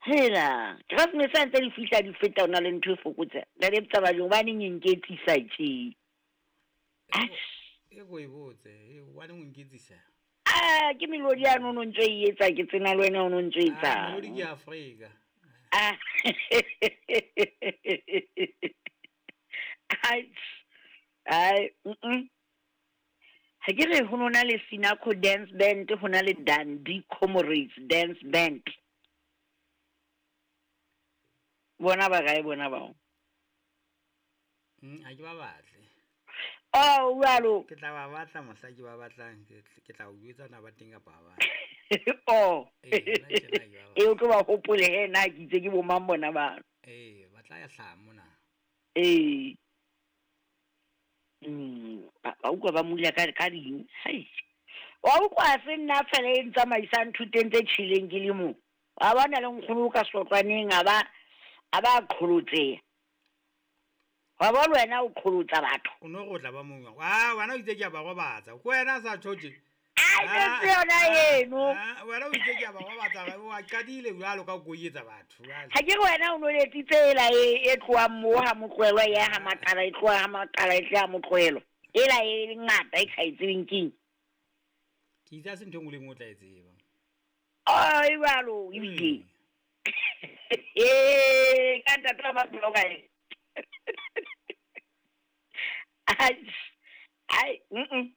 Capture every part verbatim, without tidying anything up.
Hela, Keresemese ha ntse di fihla di feta ho na le ntho e fokotseha. Ntate Tsabaleng hobaneng e nketsisa tje? Atjhe. E ko e botse, e hobaneng o nketsisa? Ah, ke melodi yane o no ntso e etsa ke tsena le wena o no ntso Ah, etsang. melodi ke Afrika. Ah. Ai, ai, mm. Ha ke re ho no na le Sinako Dance Band, ho na le Dundee Comrades Dance Band. Bona ba kae bona bao? Mm, ha ke ba batle. Oh, jwalo. Ke tla ba batla mohla ke ba batlang, ke ke tla o jwetsa na ba teng kapa ha ba. Oh. Eh, nna tjena ke ba E o tlo ba hopole he na ke itse ke bo mang bona bano. Eh, ba tla ya hlaha mona. Eh. Mm, ba ba utlwa ba mula ka ka ding. Hai. Wa utlwa se nna fela e ntsamaisang thuteng tse tjheleng ke le mo. Wa bona le nkgono ka sotlwaneng a ba a ba qholotseha. Wa bona wena o qholotsa batho. O no re o tla ba mong. Ah, wena o itse ke a ba robatsa. Ke wena a sa tjho tje. Ai, Ah, se yona eno. ah, wena o itse ke a ba robatsa, wa qadile jwalo ka o etsa batho jwale. Ha ke re wena o no letsitse ela e e tlohang moo ha Motlohelwa e ya ha Maqala, e tloha ha Maqala e tle ha Motlohelwa. Ela e ngata e ke sa e tsebeng keng. Ke itse ha se ntho e nngwe le e nngwe o tla e tseba. Oh, e jwalo ebile. Mm. Eh, ka ntate wa maphelo kae? Ai, ai, mm.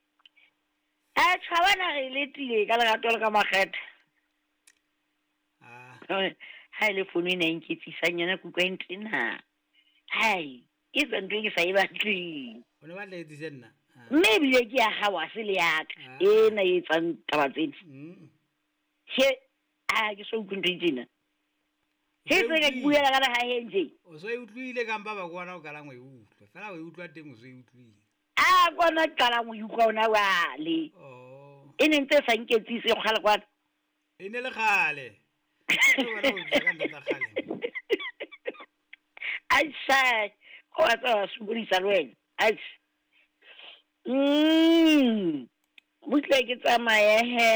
A tjhabana re letile ka lerato le ka makgethe. Ah, Ha e le fono ena e nketsisang yona ke utlwa e ntena. Hai, e etsa ntho e ke sa e batleng. o ne batla etsise nna. Ah. Mme ebile ke ya hao ha se le ya ka. Ah. Ena e etsang taba tsena. Mm. He, a ke so utlwe ntho e tjena. He O so e se ka ke utlwile. buela ka lehaheng tje. O so e utlwile kampa ba kwana o qalang ho e utlwa. Feela o e utlwa teng o so e utlwile. A kwana ke qalang ho e utlwa hona jwale. Oh. E ne ntse e sa nketsise kgale kwana. E ne le kgale. Ke wena o tla ka ntho tsa kgale. Ai, wa tseba wa sokodisa le wena. Ai. Mm. Butle ke tsamaye he.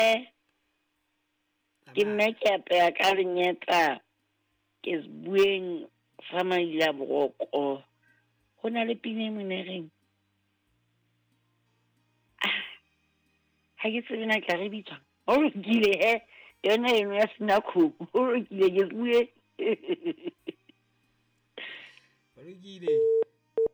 Ke nna ke apeya ka lenyeta. Ke sebueng sa maila boroko. Ho na le pina e mona e reng. Ah, ha ke tsebe na tla re bitswang. Ho lokile he. Yona eno ya Sinako. Ho lokile ke se bue. Ho lokile.